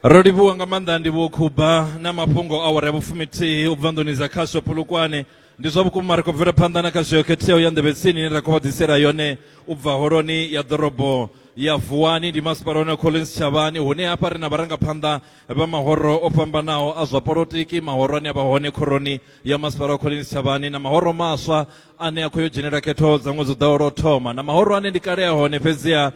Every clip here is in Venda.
Ro livhuwa nga maanḓa Ndivhuwo Khuba na mafhungo awara ya vhufumithihi u bva nḓuni dza khasho Polokwane. Ndi zwa vhukuma ri khou bvela phanḓa na khasho yo khetheaho ya nḓevhe tsini ine ra khou vha ḓisela yone u bva holoni ya ḓorobo ya Vuwani ndi masipala wa Collins Chavhani hune hafha ri na vharangaphanḓa vha mahoro o fhambanaho a zwa polotiki mahoro ane a vha hone khoroni ya masipala wa Collins Chavhani na mahoro maswa ane a khou yo dzhenela khetho dza ṅwedzi u ḓaho lwo thoma na mahoro ane ndi kale a hone fhedziha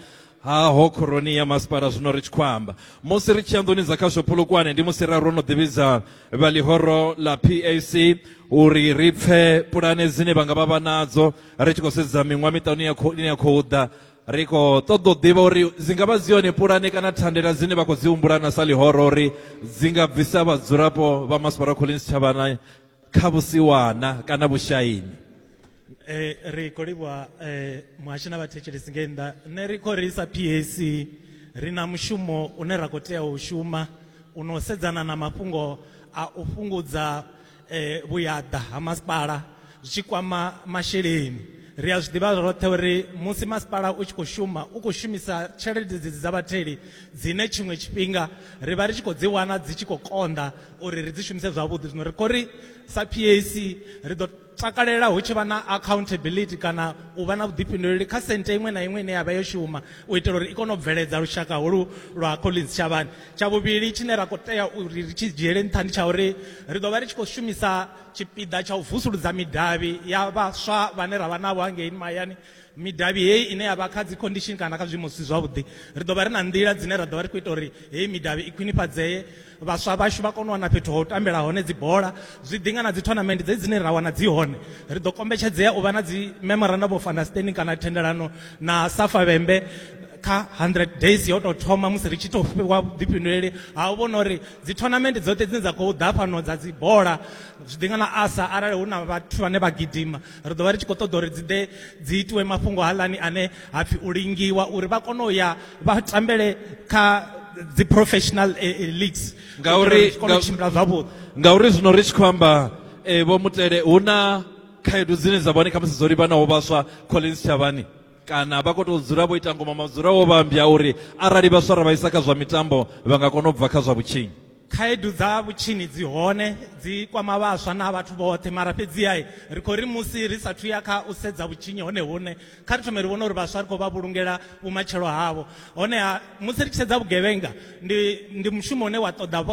haho khoroni ya masipala zwino ri tshi khou amba musi ri tshi ya nḓuni dza khasho Polokwane ndi musi ra ro no ḓivhidza vha ḽihoro ḽa PAC uri ri pfe pulane dzine vha nga vha vha nadzo ri tshi khou sedza miṅwaha miṱanu ine ya khou ḓa ri khou ṱoḓa u ḓivha uri dzi nga vha dzi yone pulane kana thandela dzine vha khou dzi humbula na sa ḽihoro uri dzi nga bvisa vhadzulapo vha masipala wa Collins Chavhana kha vhusiwana kana vhushaini. Eh, ri khou livhuwa eh, muhashi na vhathetshelesi ngei nnḓa. Nṋe ri khou ri sa PAC ri na mushumo une ra khou tea u shuma u no sedzana na mafhungo a u fhungudza eh, vhuyaḓa ha masipala zwi tshi kwama masheleni. Ri a zwi ḓivha roṱhe uri musi masipala u tshi khou shuma u khou shumisa tshelede dzedzi dza vhatheli dzine tshiṅwe tshifhinga ri vha ri tshi khou dzi wana dzi tshi khou konḓa uri ri dzi shumise zwavhuḓi. Zwino ri khou ri sa PAC ri ḓo takalela hu tshi vha na accountability kana u vha na vhuḓifhinduleli kha sente iṅwe na iṅwe ine ya vha yo shuma u itela uri i kone u bveledza lushaka holu lwa Collins Chavhani. Tsha vhuvhili tshine ra khou tea uri ri tshi dzhiele nṱha ndi tsha uri ri ḓo vha ri tshi khou shumisa tshipiḓa tsha u vusuludza midavhi ya vhaswa vhane ra vha navho hangei mahayani. Midavhi heyi ine ya vha kha dzi condition kana kha zwiimo zwi si zwavhuḓi, ri ḓo vha ri na nḓila dzine ra ḓo vha ri khou ita uri heyi midavhi i khwinifhadzee, vhaswa vhashu vha kone u wana fhethu ha u tambela hone dzi bola. Zwi ḓi nga na dzi tournament dzedzi dzine ra wana dzi hone, ri ḓo kombetshedzea u vha na dzi memorandum of understanding kana thendelano na Safa Vhembe kha 100 days yo tou thoma musi ri tshi tou fhiwa vhuḓifhinduleli ha u vhona uri dzi tournament dzoṱhe dzine dza khou ḓa fhano dza dzi bola, zwi ḓi nga na asa arali hu na vhathu vhane vha gidima, ri ḓo vha ri tshi khou ṱoḓa uri dzi ḓe dzi itiwe mafhungo haaḽani ane ha pfi u lingiwa uri vha kone u ya vha tambele kha dzi professional leagues Ngauri zwi kone u tshimbila zwavhuḓi. Ngauri zwino ri tshi khou amba Vho Mutele, hu na khaedu dzine dza vha hone khamusi dzo livhanaho vhaswa Collins Chavhani kana vha khou tou dzula vho ita ngoma madzula wo vhambya uri arali vhaswa ra vha isa kha zwa mitambo vha nga kona u bva kha zwa vhutshinyi. Khaedu dza vhutshinyi dzi hone, dzi kwama vhaswa na vhathu vhoṱhe, mara fhedziha ri khou ri musi ri sathu ya kha u sedza vhutshinyi hone hune, kha ri thome ri vhone uri vhaswa ri khou vha vhulungela vhumatshelo havho. Honeha musi ri tshi sedza vhugevhenga ndi, ndi mushumo une wa ṱoḓa.